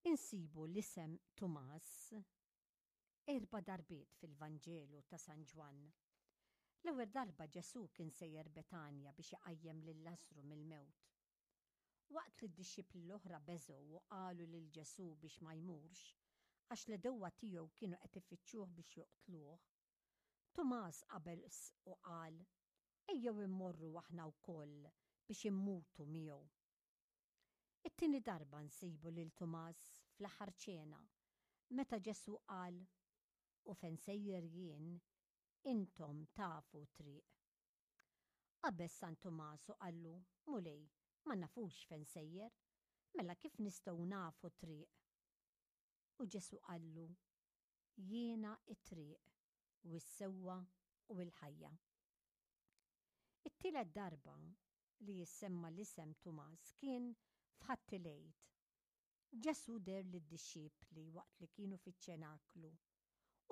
Insibu l-isem Tumas erba' darbiet fil-Vanġelu ta' San Ġwann. L-ewwel darba Ġesù kien sejjer Betanja biex iqajjem lil Lażru mill-mewt. Waqt li d-dixxipli l-oħra beżgħu u qalu lil Ġesù biex ma jmurx, għax l-għedewwa tiegħu kienu qed ifittxuh biex joqtluh, Tumas qabeż u qal, Ejjew immorru aħna wkoll biex immutu miegħu. It-tieni darba nsibu lil Tumas fl-aħħar ċena, meta Ġesù qal, U fejn sejjer jien, intom tafu t-triq. Qabeż San Tumas u qallu, Mulej, ma nafux fejn sejjer, mela kif nistgħu nafu t-triq? U Ġesù qallu, Jiena t-triq u s-sewwa u l-ħajja. It-tielet darba li jissemma l-isem Tumas kien f'Ħadd il-Għid. Ġesù deher lid-dixxipli waqt li kienu fiċ-ċenaklu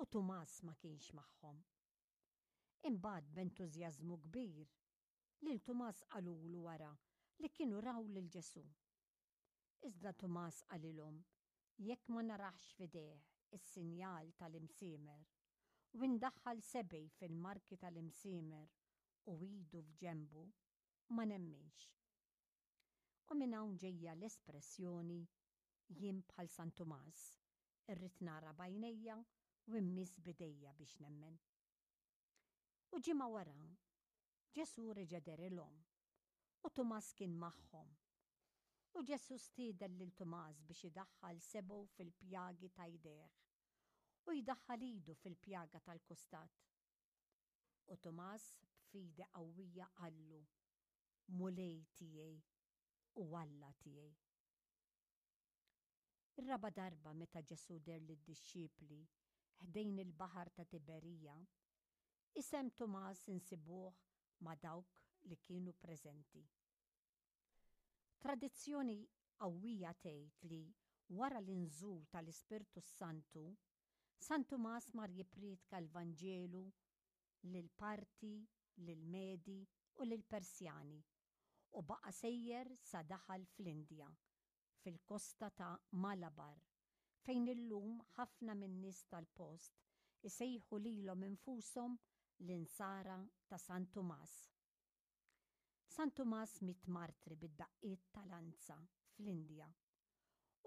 u Tumas ma kienx magħhom. Imbagħad b'entużjażmu kbir, lil Tumas qalulu wara li kienu raw lil Ġesù. Iżda Tumas qalilhom, Jekk ma naraħx f'idejh is-sinjal tal-imsiemer, u indaħħal sebgħi fil-marki tal-imsiemer u idu f'ġenbu, ma nemminx. U minn hawn ġejja l-espressjoni jien bħal San Tumas, irrid nara b'għajnejja u mmiss b'idejja biex nemmen. U ġimgħa wara, Ġesù reġa' dehrilhom, u Tumas kien magħhom. U Ġesù stieden lil Tumas biex idaħħal sebgħu fil-pjagi ta' jdejh, u jdaħħal idu fil-pjaga tal-kustat. U Tumas b'fidi qawwija qallu, Mulej tiegħi u Alla tiegħi. Ir-raba' darba meta Ġesù deher lid-dixxipli ħdejn il-baħar ta' Tiberija, isem Tumas insibuh ma' dawk li kienu preżenti. Tradizzjoni qawwija tgħid li wara l-inżul tal-Ispirtu s-Santu, San Tumas mar jipprietka l-Vanġelu lill-Parti, lill-Medi u lill-Persjani u baqa' sejjer sa daħal fl-Indja, fil-kosta ta' Malabar, fejn illum ħafna min-nies tal-post isejħu lilhom infushom l-Insara ta' San Tumas. San Tumas miet martri bid-daqqiet ta' lanza fl-Indja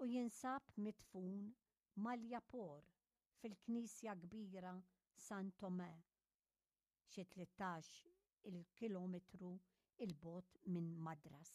u jinsab midfun Maliapur fil-knisja kbira San Tomé xi 13 il kilometru 'il bogħod minn Madras.